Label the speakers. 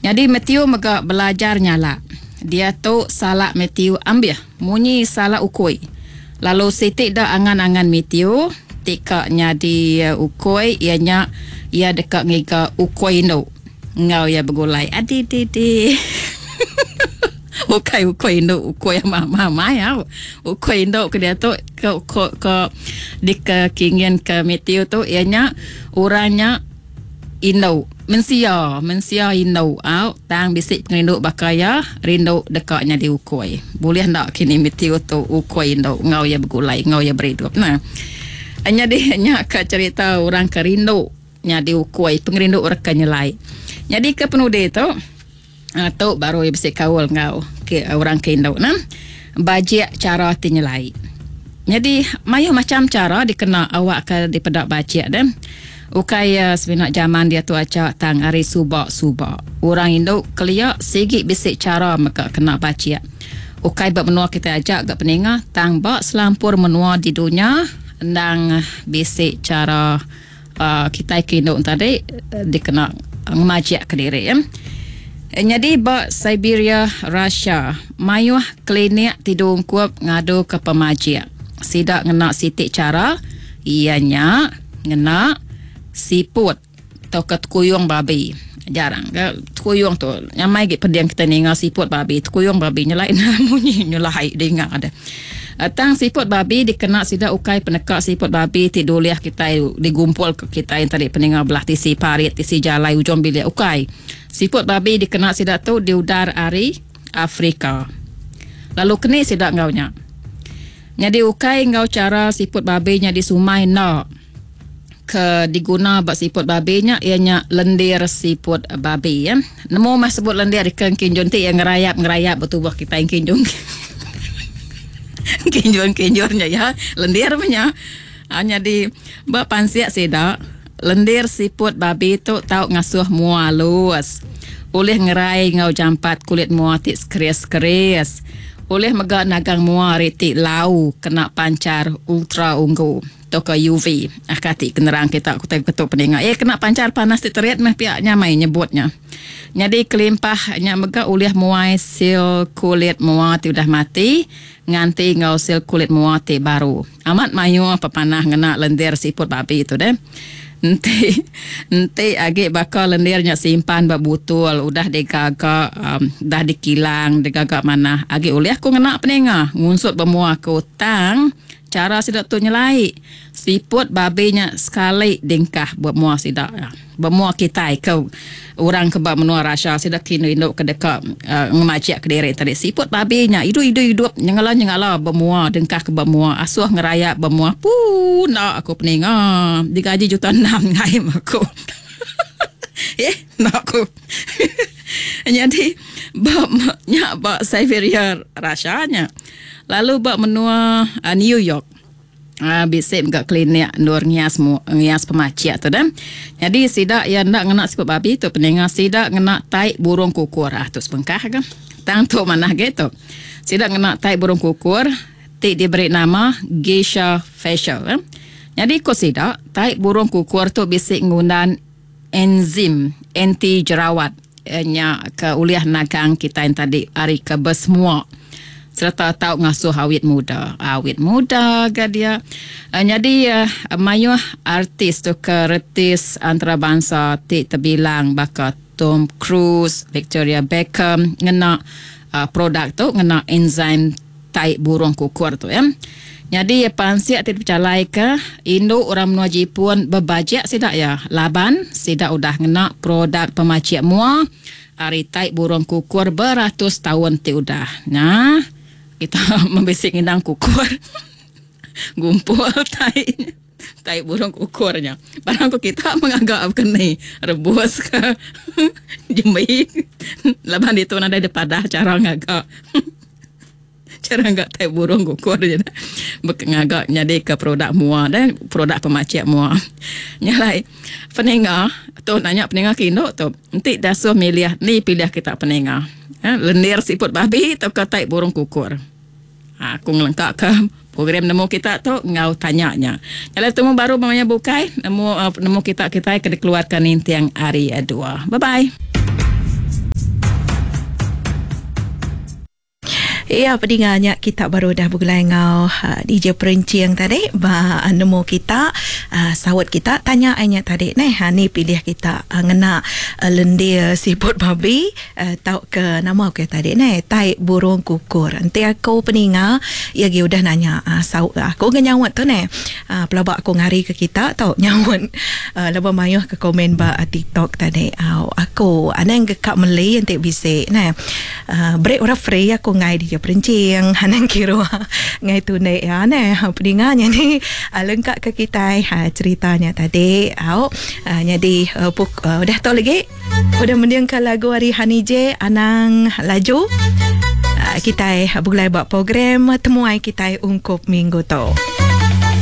Speaker 1: Nyadi Matthew mega belajar nyalak. Diatu salak Matthew ambih munyi salak ukui. Lalu siti da angan-angan Matthew ti ka nyadi ukui iya nya iya deka ngiga ukui indu enggau iya begulai. Adididi. Ukai ukui indu ukui amai-amai au. Ukui indu ke diatu ke ke dikekinginka Matthew tu iya nya orang nya Indu, mensia, mensia indu au tang bisi pengerindu baka iya, rindu deka nyadi ukui. Bulih enda kini Matthew tu ukui indu enggau iya begulai enggau iya beridup nah. Nyadi nya ka cherita orang ke rindu nyadi ukui, pengerindu orang ke nyelai. Nyadi ke penudi tu tu baru iya bisi kaul enggau ke orang ke indu nah. Bajik chara ti nyelai. Nyadi mayuh macham chara dikena awakka dipeda bajik deh. Ukai iya semina jaman diatu aja tang ari suba-suba. Orang indu kelia sigi bisi chara mega kena bajik. Ukai ba menua kitai aja ga peninga tang ba selampur menua di dunya endang bisi chara kitai ke indu tadi dikena ngemajik kediri. Nyadi ba Siberia, Russia, mayuh klinik ti diungkup ngaduka pemajik. Sida ngena siti chara iya nya ngena siput tauka tekuyung babi. Jarang ga tekuyung tu nyamai agi peding kitai ninga siput babi tekuyung babi nyelai enda munyi nyelai dinga deh. Tang siput babi dikena sida ukai peneka siput babi ti dulih kitai digumpul ke kitai tadi peninga belah tisi parit tisi jalai ujung bilik ukai. Siput babi dikena sida tu diudar ari Afrika. Lalu keni sida enggau nya. Nyadi ukai enggau chara siput babi nya disumai enda. Ke diguna ba siput babi nya iya nya lendir siput babi. Nemu mah sebut lendir ke engkinjun ti iya ngerayap ngerayap ba tubuh kitai engkinjun. Engkinjun engkinjun nya iya lendir meh nya. Nyadi ba pansik sida lendir siput babi tu tau ngasuh mua alus. Ulih ngerai enggau jampat kulit mua ti sekeris-sekeris. Ulih mega nagang mua ari ti lau kena panchar ultra unggu tauka UV. Aka ti kenerang kita ku tai betu peninga. Eh kena panchar panas ti terit meh pia nya mai nyebut nya. Nyadi kelimpah nya mega ulih muai sil kulit mua ti udah mati nganti enggau sil kulit mua ti baru. Amat mayuh pepanah ngena lendir siput babi tu deh. Enti enti agi baka lendir nya simpan ba butul udah digaga um dah dikilang digaga manah agi ulih ku ngena peninga ngunsut ba mua aku tang chara sida tu nyelai siput babi nya sekali dingkah ba mua sida. Ba mua kitai ke orang ke ba menua Russia sida ke indu-indu ke deka ngemajik kediri tadi siput babi nya idup-idup idup nyengala-nyengala ba mua dengkah ke ba mua asuh ngerayap ba mua puu enda aku peninga digaji juta enam ngaim aku eh enda aku nyadi ba nya ba Siberia Russia nya lalu ba menua New York. Bisi mega klinik endur ngias ngias pemachik tu deh. Nyadi sida iya enda ngena siput babi tu peninga sida ngena tai burung kukur. Ah tu sebengkah ga. Tang tu manah agi tu. Sida ngena tai burung kukur ti diberi nama Geisha Facial. Nyadi ku sida tai burung kukur tu bisi ngundan enzim anti jerawat. Nya ke ulih nagang kitai tadi ari ke besemua sereta tau ngasuh awit muda. Awit muda ga dia. Nyadi mayuh artis tauka retis antarabansa ti tebilang baka Tom Cruise, Victoria Beckham ngena produk tu ngena enzim tai burung kukur tu ya. Nyadi pansik ti dipejalaika indu orang menua Jipun bebajik sida iya laban sida udah ngena produk pemachik mua ari tai burung kukur beratus taun ti udah. Nya kita bisi ngindang kukur gumpul tai tai burung kukur nya. Barang ku kita mengaga baka ni rebus ka jembi laban ditu nadai dipadah chara ngaga. Chara ngaga tai burung kukur je dah. Bek ngaga nyadika produk mua deh, produk pemachik mua. Nya alai peninga tu nanya peninga ke indu tu enti dasuh milih ni pilih kita peninga. Uhh lendir siput babi tauka tai burung kukur. Haa aku ngelengkaka program nemu kita tu enggau tanya nya. Nya alai betemu baru ba maya bukai nemu nemu kita kitai ke dikeluarka ninting hari dua. Bye bye.
Speaker 2: Iya pedinga nya kita baru udah begulai enggau DJ Perenching tadi ba nemu kita saut kita tanya ai nya tadi neh ni pilih kita ngena lendir siput babi tauka nama ke tadi neh tai burung kukur. Enti aku peninga iya agi udah nanya saut aku ga nyaut tu neh pelaba aku ngari ke kita tu nyaut lebuh mayuh ke komen ba TikTok tadi. Aku anang ga ka meli enti bisi neh. Beri orang free aku enggai dija perenching anang kiruh enggai tundi iya neh pedinga nyadi lengka ke kitai cerita nya tadi au nyadi udah tu lagi udah mending ka lagu ari Honey J anang laju kitai begulai ba program temuai kitai ungkup minggu tu.